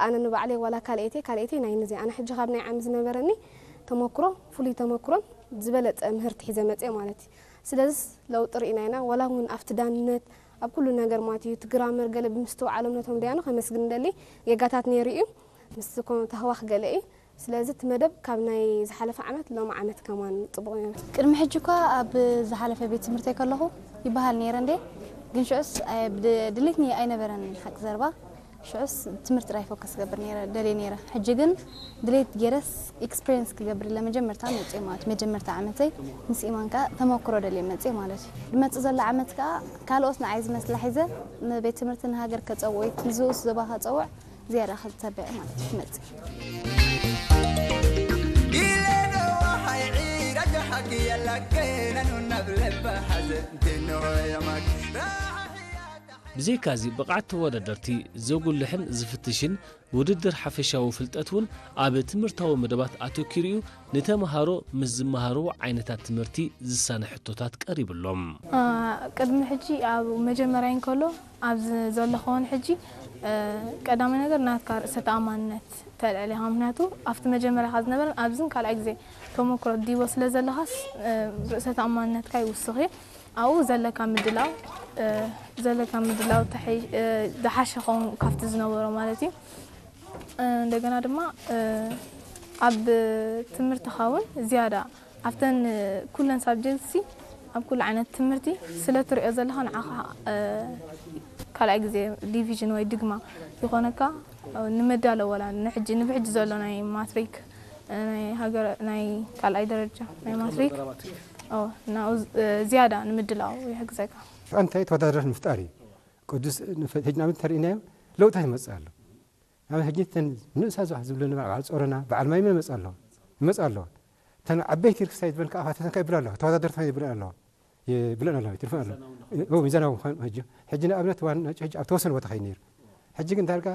ኣነ ንባዕለይ ዋላ ካልኣይተይ ካልኣይተይ ናይ ንዘይ ኣነ ሕጂ ካብ ናይ ዓሚ ዝነበረኒ ተመክሮ ፍሉይ ተመክሮን ዝበለጸ ምህርቲ ሒዘ መጽእ ማለት እዩ። ስለዚስ ለውጢ ርኢና ኢና። ዋላ እውን ኣብቲ ዳንነት ኣብ ኩሉ ነገር ማለት እዩ እቲ ግራመር ገለ ብምስትውዓሎም ነቶም ደያኑ ከመስግን ደሊ ጌጋታት ነይሩ እዩ። ምስ ኮነ ተህዋኽ ገለ እዩ። ስለዚ እቲ መደብ ካብ ናይ ዝሓለፈ ዓመት ሎም ዓመት ከማን ጽቡቕ ነይሩ። ቅድሚ ሕጂ እኳ ኣብ ዝሓለፈ ቤት ትምህርተይ ከለኹ ይበሃል ነይረ እንዴ፣ ግን ሽዑስ ኣይ- ብድ- ድሌትኒ ኣይነበረን ሓቂ ዘረባ። ሽዑስ ትምህርቲ ጥራይ ፎከስ ክገብር ነይረ ደልየ ነይረ። ሕጂ ግን ድሌት ገይረስ ኤክስፒሪየንስ ክገብር ለመጀመርታ መፅእ ማለት መጀመርታ ዓመተይ ምስ ኢማን ከዓ ተመክሮ ደልየ መፅእ ማለት እዩ። ዝመፅእ ዘሎ ዓመት ከዓ ካልኦት ንዓይ ዝመስላ ሒዘ ንቤት ትምህርቲ ንሃገር ከፀውዕ ወይ ንዝኡስ ዞባ ከፀውዕ ዝያዳ ክተብዕ ማለት እዩ ክመፅእ። ብዘይካዚ ብቕዓት ተወዳደርቲ ዘጉልሕን ዝፍትሽን ውድድር ሓፈሻዊ ፍልጠት እውን ኣብ ትምህርታዊ መደባት ኣተኪሩ እዩ ንተምሃሮ ምስ ዝመሃርዎ ዓይነታት ትምህርቲ ዝሳነ ሕቶታት ቀሪብሎም። ቅድሚ ሕጂ ኣብ መጀመርያ እንከሎ ኣብዚ ዘለኹ እውን ሕጂ ቀዳማይ ነገር ናትካ ርእሰ ተኣማንነት ተልዕል ኢኻ። ምክንያቱ ኣብቲ መጀመርያ ካብ ዝነበረን ኣብዝን ካልኣይ ግዜ ተመክሮ ዲቦ ስለ ዘለኻስ ርእሰ ተኣማንነትካ ይውስኽ እዩ። ኣብኡ ዘለካ ምድላው ዘለካ ምድላው ዝሓሸ ኸውን ካብቲ ዝነበሮ ማለት እዩ። እንደገና ድማ ኣብ ትምህርትኻ እውን ዝያዳ ኣብተን ኩለን ሳብጀክትሲ ኣብ ኩሉ ዓይነት ትምህርቲ ስለ ትሪኦ ዘለኻ ንዓኻ ካልኣይ ግዜ ዲቪዥን ወይ ድግማ ይኾነካ። ንመዳለወላ ንሕጂ ንብሕጂ ዘሎ ናይ ማትሪክ ናይ ሃገር ናይ ካልኣይ ደረጃ ናይ ማትሪክ ዝያዳ ንምድላው ይሕግዘካ። ሽዑ እንታይ ተወዳዳሪ ምፍጣር እዩ። ቅዱስ ሕጂ ናብ እንተርእናዮ ለውጥታት ይመፅእ ኣሎ። ናብ ሕጂ ተን ንእሳ ዝባህ ዝብለኒ በዓል ጾሮና በዓል ማይ መመፅ ኣለዋ ይመፅ ኣለዋ። ተን ዓበይቲ ርክስታይ ዝበልካ ኣፋተተን ከ ይብላ ኣለዋ ተወዳደርቲ ይብላ ኣለዋ ይብለን ኣለዋ ይትርፈን ኣለዋ። ሚዛናዊ ምኳን ሕጂ ሕጂ ንኣብነት ዋና ሕጂ ኣብ ተወሰነ ቦታ ከይድ ነይሩ። ሕጂ ግን ዳርጋ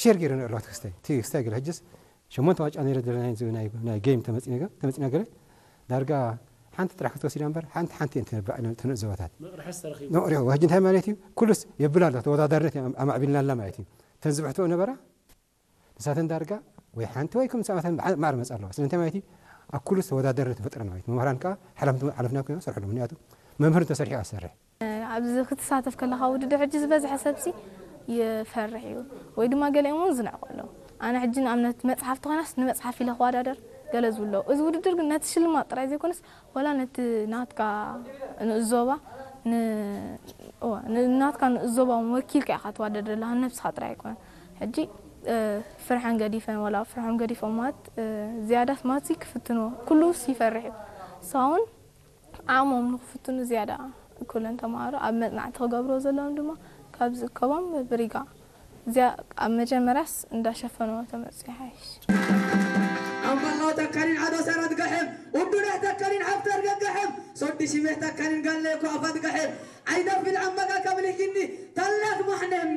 ሸር ገይረ ኣለዋ ክስታይ ክስታይ ገለ ሕጅስ ሸሞንተ ዋጫ ነይረ ናይ ጌም ተመፂና ገለ ዳርጋ ሓንቲ ጥራሕ ክትወስዳ እምበር ሓንቲ ሓንቲ እየን ተነባዕ ተንእዘባታት መቕርሒ ዝተረኺቡ መቕርሒ ሕጂ እንታይ ማለት እዩ ኩሉስ የብል ኣሎ ተወዳዳርነት ኣማዕቢልና ኣላ ማለት እዩ ተን ዝብሕትኦ ነበራ ንሳተን ዳርጋ ወይ ሓንቲ ወይ ከም ሰባተን ማዕረ መፃ ኣለዋ ስለምንታይ ማለት እዩ ኣብ ኩሉስ ተወዳዳርነት ፈጥረን ማለት መምህራን ከዓ ሓላፍና ኮይኖም ሰርሕሉ ምክንያቱ መምህር እንተሰርሒ ኣሰርሕ ኣብዚ ክትሳተፍ ከለኻ ውድድር ሕጂ ዝበዝሐ ሰብሲ ይፈርሕ እዩ ወይ ድማ ገሊኦም እውን ዝንዕቑ ኣለዉ። ኣነ ሕጂ ንኣብነት መፅሓፍ ተኾይናስ ንመፅሓፍ ኢለ ክወዳደር ገለ ዝብሉ ኣለዉ። እዚ ውድድር ግን ነቲ ሽልማት ጥራይ ዘይኮነስ ዋላ ነቲ ናትካ ንእስ ዞባ ን- እወ፣ ን- ናትካ ንእስ ዞባ እውን ወኪልካ ኢኻ ትወዳደር ዘለኻ ንነብስኻ ጥራይ ኣይኮነን። ሕጂ ፍርሐን ገዲፈን ዋላ ፍርሖም ገዲፎም ማለት ዝያዳስ ማለት ክፍትንዎ ኩሉስ ይፈርሕ እዩ። ንስኻ እውን ዓቕሞም ንኽፍትኑ ዝያዳ ኩለን ተምሃሮ ኣብ መጽናዕቲ ክገብርዎ ዘለዎም ድማ ካብ ዝእከቦም ብሪጋ እዚኣ ኣብ መጀመርያስ እንዳሸፈንዎ ተመጽኡ ይሓይሽ። ኣምባላው ተካሊን ዓዶ ሰረት ገሕም ውዱዳህ ተካሊን ሓፍተር ገገሕም ሶዲ ሽሜህ ተካሊን ጋለ ኳፋት ገሕም ዓይደፊል ዓመጋ ከብልህ ግኒ ታላክ ማሕነም